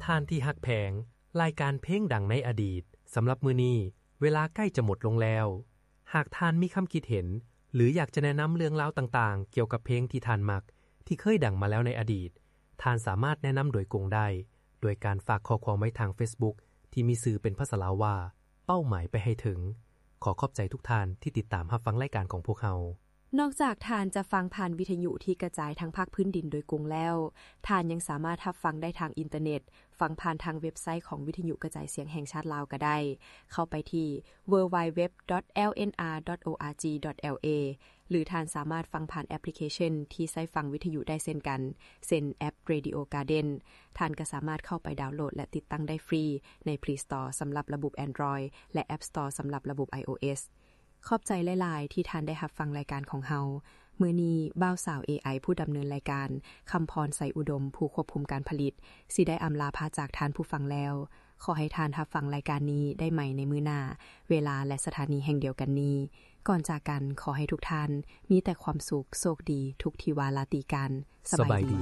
ທ່ານທີ່ຮັກແພງ, ລາຍການເພງດັງໃນອະດີດ. ສຳລັບມື້ນີ້, ເວລາໃກ້ຈະໝົດລົງແລ້ວ. ຫາກທ່ານມີຄຳຄິດເຫັນ ຫຼື ຢາກຈະແນະນຳເລື່ອງລາວຕ່າງໆ ກ່ຽວກັບເພງທີ່ທ່ານມັກ ທີ່ເຄີຍດັງມາແລ້ວໃນອະດີດ, ທ່ານສາມາດແນະນຳໂດຍກົງໄດ້ ໂດຍການຝາກຂໍ້ຄວາມໄວ້ທາງ Facebook ທີ່ມີຊື່ເປັນພາສາລາວວ່າ ເປົ້າໝາຍໄປໃຫ້ເຖິງ. ຂໍຂອບໃຈທຸກທ່ານທີ່ຕິດຕາມຮັບຟັງລາຍການຂອງພວກເຮົາ. ນອກຈາກທ່ານຈະຟັງຜ່ານວິທະຍຸທີ່ກະຈາຍທັງພາກພື້ນດິນໂດຍກົງແລ້ວ, ທ່ານຍັງສາມາດຮັບຟັງໄດ້ທາງອິນເຕີເນັດ, ຟັງຜ່ານທາງເວັບໄຊຂອງວິທະຍຸກະຈາຍສຽງແຫ່ງຊາດລາວກໍໄດ້. ເຂົ້າໄປທີ່ www.lnr.org.la ຫຼື ທ່ານສາມາດຟັງຜ່ານແອັບພລິເຄຊັນທີ່ໃຊ້ຟັງວິທະຍຸໄດ້ເຊັ່ນກັນ, ເຊັ່ນແອັບ Radio Garden. ທ່ານກໍສາມາດເຂົ້າໄປດາວໂຫຼດ ແລະ ຕິດຕັ້ງໄດ້ຟຣີໃນ Play Store ສຳລັບລະບົບ Android ແລະ App Store ສຳລັບລະບົບ iOS. ຂອບໃຈຫຼາຍໆ ທີ່ທ່ານໄດ້ຮັບຟັງລາຍການຂອງເຮົາ. ມື້ນີ້ ບ່າວສາວ ເອໄອ ຜູ້ດຳເນີນລາຍການ, ຄຳພອນ ໄຊອຸດົມ ຜູ້ຄວບຄຸມການຜະລິດ, ຊິໄດ້ອຳລາພາຈາກທ່ານຜູ້ຟັງແລ້ວ. ຂໍໃຫ້ທ່ານຮັບຟັງລາຍການນີ້ໄດ້ໃໝ່ໃນມື້ໜ້າ, ເວລາ ແລະ ສະຖານີແຫ່ງດຽວກັນນີ້. ກ່ອນຈາກກັນ, ຂໍໃຫ້ທຸກທ່ານມີແຕ່ຄວາມສຸກ, ໂຊກດີ, ທຸກທິວາລາຕີກັນ. ສະບາຍດີ.